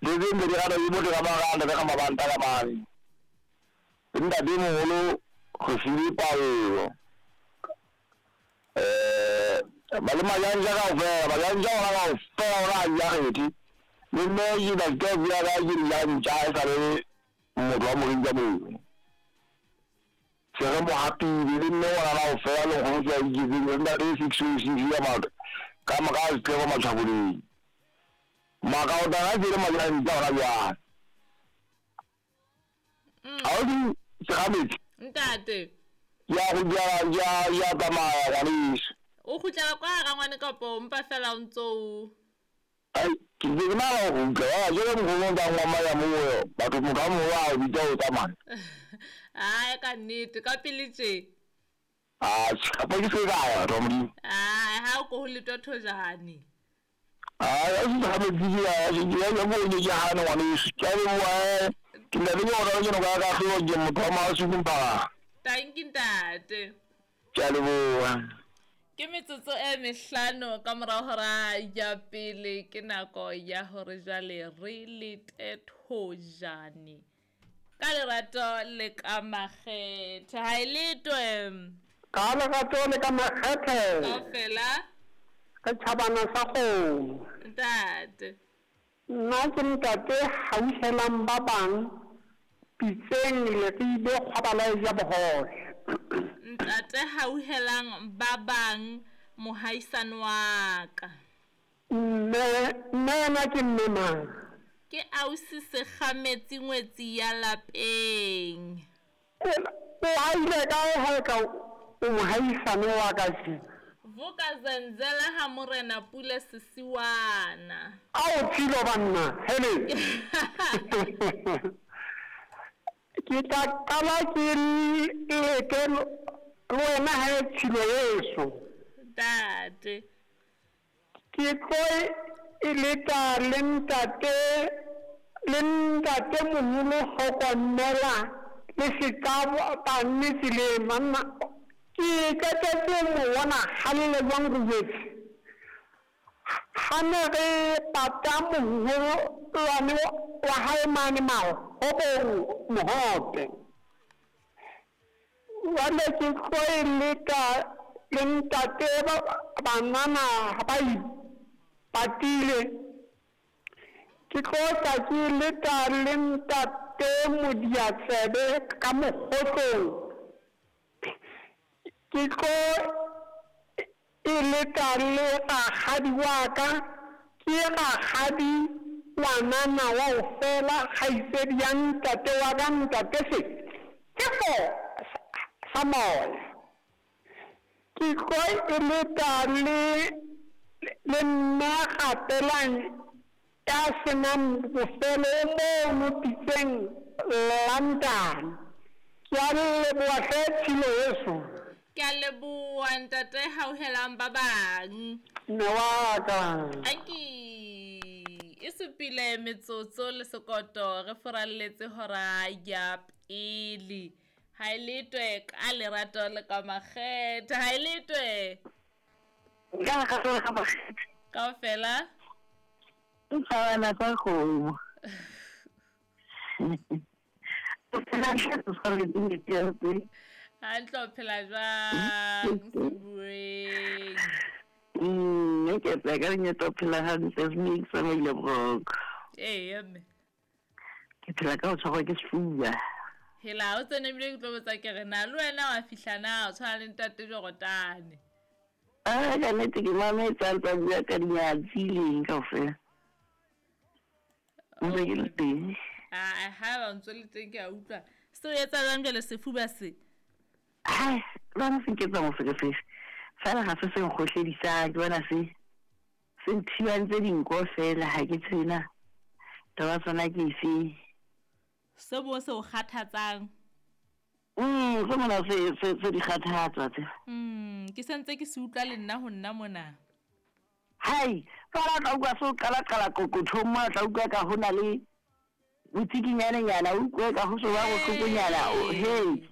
Mme le tse ntse di rata ke motho ka maranda ka mabanta ka mane. Le ntate moholo Kgosidi Paulo. Eh ba le majanja kaofela, majanja ona kaofela ona a ja kgethe. Le mme ke na ke bua ka ke dijanja e sa le motho wa moreng ka moo. Se re mo hapile le mme ngwana kaofela le nkgono tsa iketseng le ntate 606 ya maka ka maka setlego matšhaboleng. Makaota ga ke le majanja ona bjale. A o di segametsi? Ntate. Ya go ya ya ya tsamaya ngwaneso. O kgutlela kwa rangwane kapa o mpa fela o ntso o Ai, ke ntse ke nahana go kgutla wa jele nkgono tsa ngwama ya moyo batho motho a moholo a o bitsa o tsamaya. Ai ka nnete ka pele tje. A kapa ke se ka ya batho ba Modimo. Ai ha o ko ho letwa thojane. Ai, a se segametsi ke ya ke ya ya bo ke ke hane ngwaneso. Ke a leboha eh. Ke ntate ke ona ke no ka ka hlola ke motho wa Masuku Mphaga. Thank you ntate. Ke a leboha. Ke metsotso e mehlano ka morago hora ya pele ke nako ya hore jwale re lete thojane ka lerato le ka makgethe ha e letwe Ka lerato le ka makgethe. Kaofela. Setjhabana sa kgomo. Ntate. Nna ke ntate hauhelang ba bang pitseng leribe kgwabala e ja bohobe. Ntate hauhelang ba bang mohaisane wa ka. Mme, mme yena ke mme mang? Ke ausi Sekgametsi ngwetsi ya lapeng. O haile kae ha e ka o mohaisane wa ka tjena? Vuka Zenzele ha Morena Pule Sesiwana. Ao Tshilo banna, hele! Ke tla qala ke leke le wena he Tshilo yeso. Ntate. Ke tlo e leta le ntate le ntate moholo hlokomela le se ka banne tseleng banna ke qetetse mo bona halle jwang re jwetse ha ne re pata moholwane wa hae mane mahobong mohope. Jwale ke tlo e leka le ntate banana ba ipatile. Ke tlo tla ke leka le ntate Modiatsebe ka mokgotlong. Ke tlo e leka le rakgadi wa ka, ke rakgadi ngwanana wa ho fela kgaitsedi ya ntate wa ka ntate Sefefo sa moya. Ke tlo e leta le le mme Gapelang ya senang bofelo o mono pitseng London. Ke a leboha hle tshilo yeso. Ke a leboha ntate hauhelang ba bang. Mme wa ka. Anki e supile metsotso le sekoto re furalletse hora ya pele. Ha e letwe ka lerato le ka makgethe. Ha e letwe. Ka lerato le ka makgethe. Kaofela. Ntshwana tsa kgomo. O phela hantle tshwanetse ke Hantle o phela jwang Sebueng? Ke tla ka lenyatsa o phela hantle mme ke tsamaile boroko. Ee mme. Ke phela ka ho tshwarwa ke sefuba. Hela o tsene ebile ke tlo botsa ke re na le wena wa fihla na o tshwana le ntate Jorotane. Ah, ka nnete ke mametse a ntsa bua ka dinyatsi leng kaofela. Ntse ke le teng. Ah, ha ba ntse le teng ke a utlwa. Se o etsa jwang jwale sefuba se? Hai, lona se nketsa moferefere. Fela ga se se nkgohledisang, ke bona se se nthibantse dinko fela ha ke tsebe na taba tsona ke efe. Se bo se o kgathatsang. Se mona se se se di kgathatsa tse. Ke sentse ke se utlwa le nna ho nna mona. Hai, fela tla utlwa se o qala qala qoqothong mona tla utlwa ka ho na le botsikinyane nyana, o utlwe ka ho so ba bohlokonyana, hey.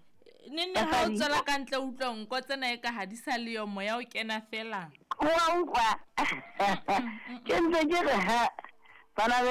Ne ne ha o tswela ka ntle utlwa nko tsena e ka ha di sa le yo moya o kena fela. Wa utlwa. Ke ntse ke re ha bana